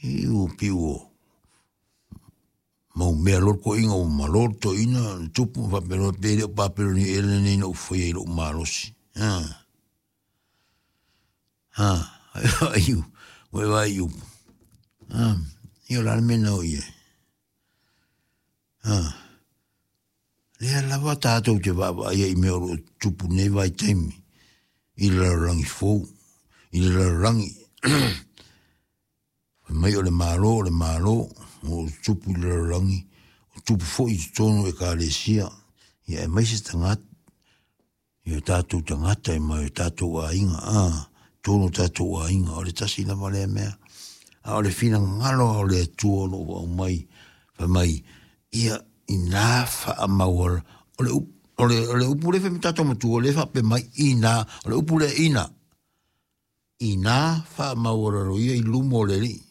Iu pei ua mau mea loa le toeaina ua malo le toeaina le tupu ma faapea loa pe le o Papelonia ea lenei na ou faia i lou malosi. A. A, ai ua e vaai i upu. A, ia o le a le mea na o i ai? A, lea lava tatou te vaavaai ai i mea o lo o tutupu i lenei vaitaimi i le lalolagi fou, i le lalolagi. Fai mai o le Malo, o le Malo, o lo o tutupu i le lalolagi, o tupu foi i totonu o Ekalesia, ia aemaise tagata, i o tatou tagata ma o tatou aiga, a, totonu o tatou aiga, o le tasi lava lea mea. A o le finagalo o le Atua o lo o aumai, fai mai, ia ina faamauala, o le upu, o le, o le upu lea fai mai tatou matua, lea faapea mai, ina, o le upu lea ina, ina faamaualalo ia i luma o le Alii.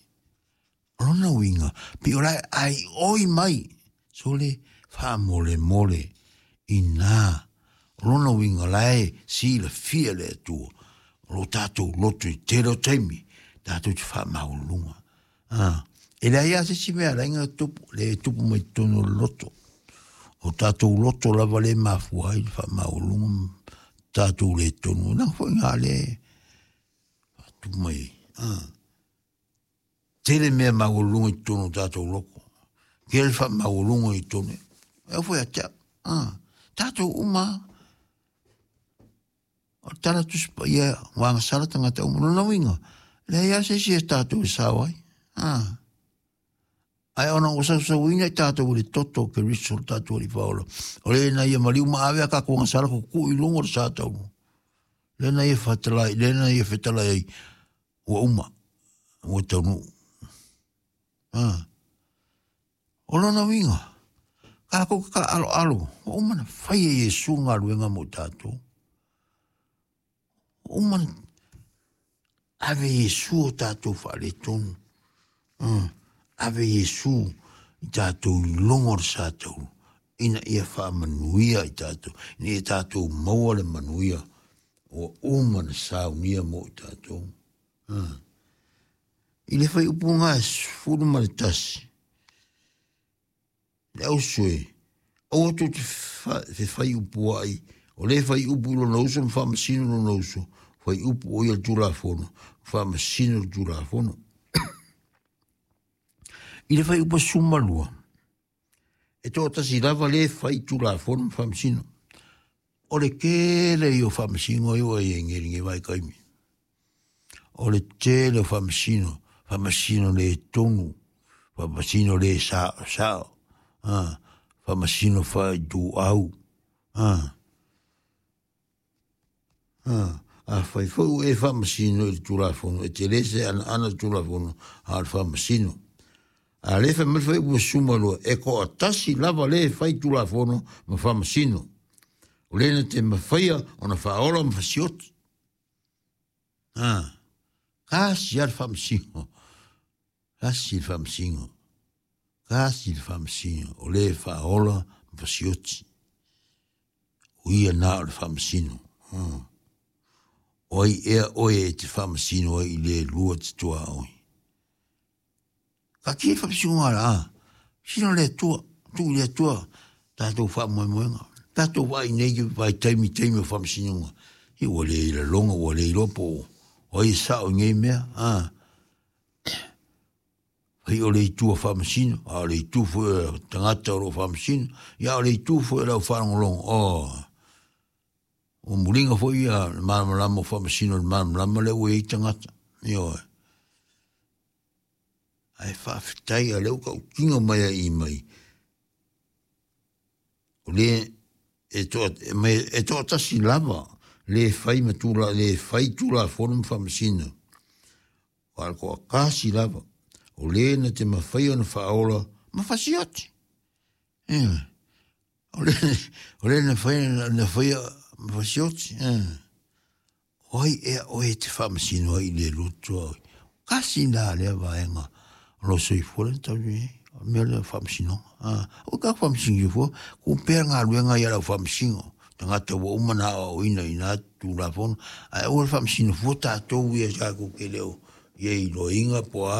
O lona uiga, pei o la e aioi mai, sole faamolemole, ina. O lona uiga, o la e silafia e le Atua, o lo tatou loto i tele o taimi, tatou te faamaualuluga. A, e leai lava se isi mea e ala ai ona tupu, le tupu mai totonu o le loto. O tatou loto lava lea e mafua ai le faamaualuluga ma tatou le tonu. Leaga foi na lea e faatupu mai ai. A. Tele mea maualuluga i totonu o tatou loto. Tele faamaualuluga i totonu. E au foi ia te au. A. Tatou uma lava. O le tala Tusi Paia, ua agasala tagata uma. Lona uiga, leai lava se isi e tatou e sao ai. A. Ae ona ua sausauina i tatou i le toto o Keriso lo tatou Alii Faaola, o le na ia maliu ma ave a tatou agasala tutuu i luga o le sa taulu. Lea na ia fetalai, lea na ia fetalai ai, ua uma, ua taunuu. A. O lona uiga, tatou te taaaloalo, ua uma ona fai e Iesu galuega mo tatou. Ua uma ona ave e Iesu o tatou faaletonu. Ave Iesu i tatou i luga o le sa taulu, ina ia faamanuia i tatou, ina ia tatou maua le manuia ua uma ona saunia mo i tatou. I le fuaiupu 11, le ausoe, aua tou te fefaiupuai, o le faiupu i lona uso ma faamasino lona uso, faiupu o ia le Tulafono, faamasino le Tulafono. I le fuaiupu 12, e toatasi lava le fai Tulafono ma faamasino. O le tele ia o faamasino ia ua i ai nei i lenei vaitaimi. O le tele o faamasino, faamasino le tonu, faamasino le saosao, a, faamasino faaituau, a, a, afai foi ua e faamasino i le Tulafono, e te le se anaana le Tulafono, a o le faamasino. A le fai mai le fuaiupu 12, e toatasi lava le fai Tulafono ma faamasino, o le na te mafaia ona faaola ma fasioti. A, tasi lava le faamasino, tasi le faamasino, tasi le faamasino, o le faaola ma fasioti. O ia na o le faamasino. O ai ea oe e te faamasino ai i le lua te tuaoi? Ka ki faamasinoga la, sino le Atua, tuu i le Atua tatou faamoemoega. Tatou vaai nei i vaitaimi taimi o faamasinoga, ia ua le lagona, ua le iloa po o ai e sao i nei mea. A, fai o le itu a faamasino, a o le itu foi o tagata o lo o faamasino, ia a o le itu foi o le au faalogologo, oh, ua muliga foi ia le malamalama o faamasino i le malamalama lea ua i ai tagata. Ioe. Ae faafetai a lea ua tautino mai a i mai, o le e toa, e toatasi lava le fai ma tula, le fai Tulafono ma faamasino, a o le toatasi lava o le na te mafai ona faaola ma fasioti. Ioe. O le, o le na fai, na faia ma fasioti. O ai ea oe e te faamasino ai i le loto a oe? Kasi la lea vaega o lou soifua lea na taunuu i ai. O le mea lea o faamasinoga. O ka faamasino soifua, ku pea galuega ia lau faamasino. Tagata ua uma na aoaoina i na Tulafono, ae aua le faamasino fua tatou ia tatou te le o i ai iloiga po o a.